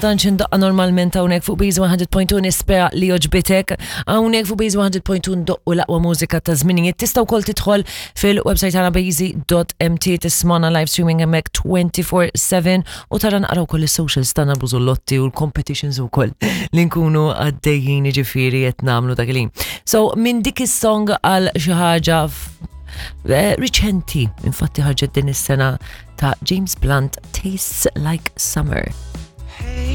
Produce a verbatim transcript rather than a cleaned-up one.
Tantx indaqqa normalment hawnhekk fuq Base one hundred point two, nispera li għoġbitek. Hawnhekk fuq Base one hundred point two ndoqqu l-aqwa mużika ta' żminijiet. Tista' wkoll tidħol fil-website tagħna base dot M T, tismagħna live streaming hemmhekk twenty-four seven u tara naqraw ukoll is-socials tagħna, bużullotti u l-competitions ukoll li nkunu għaddejjin, ġifieri qed nagħmlu dak il. So minn dik is-song għal xi ħaġa eh, riċenti, infatti ħarġet din is-sena, ta' James Blunt, "Tastes Like Summer".